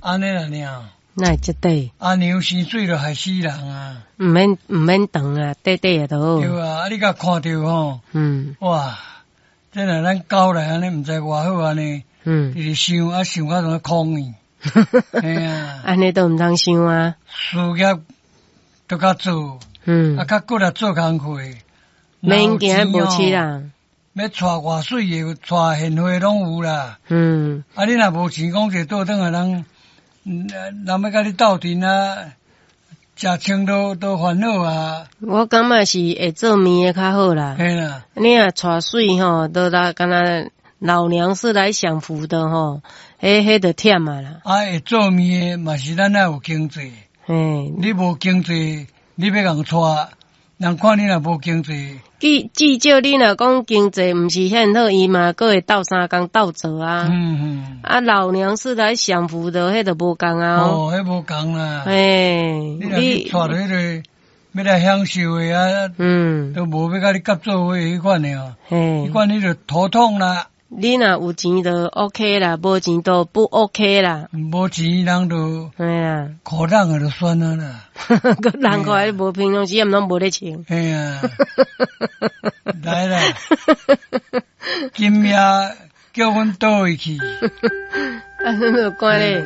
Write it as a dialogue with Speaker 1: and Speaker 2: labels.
Speaker 1: 按呢啦爾。
Speaker 2: 哪會這短？
Speaker 1: 阿娘生水就害死人啊！
Speaker 2: 毋免毋免長啊，短短就好。
Speaker 1: 對啊，啊你共看著吼，哇！這若咱狗來按呢，毋知偌好按呢，直直想啊想到怎空去。嘿啊，
Speaker 2: 按呢都毋通想啊。
Speaker 1: 事業都較做，啊較骨力做工課，
Speaker 2: 免驚無錢啦。
Speaker 1: 欲娶偌媠的，娶現花攏有啦。啊，你若無錢，講一個倒轉來人，人欲共你鬥陣啊，食穿都都煩惱啊。
Speaker 2: 我感覺是會做麵的較好啦。
Speaker 1: 嘿啦。
Speaker 2: 你若娶媠吼，都來敢若老娘是來享福的吼，彼就忝啊啦。
Speaker 1: 啊，會做麵的嘛是咱愛有經濟。你無經濟，你欲共娶，人看你若無經濟。
Speaker 2: 至少你若講經濟毋是遐好，伊嘛閣會鬥相共鬥做啊。啊，老娘是來享福的，彼就無仝啊。
Speaker 1: 哦，彼無仝啦。你若去娶彼个欲來享受的啊，都無欲共你合做伙彼款的哦。彼款你就頭痛啦。
Speaker 2: 你若有錢就 OK 啦，無錢就不 OK 啦。
Speaker 1: 無錢人就
Speaker 2: 嘿啊，
Speaker 1: 苦等的就算啊啦。
Speaker 2: 閣人看你無平常時，毋攏無咧穿。
Speaker 1: 嘿啊，來啦，今夜叫阮佗位去？
Speaker 2: 啊，你有看咧？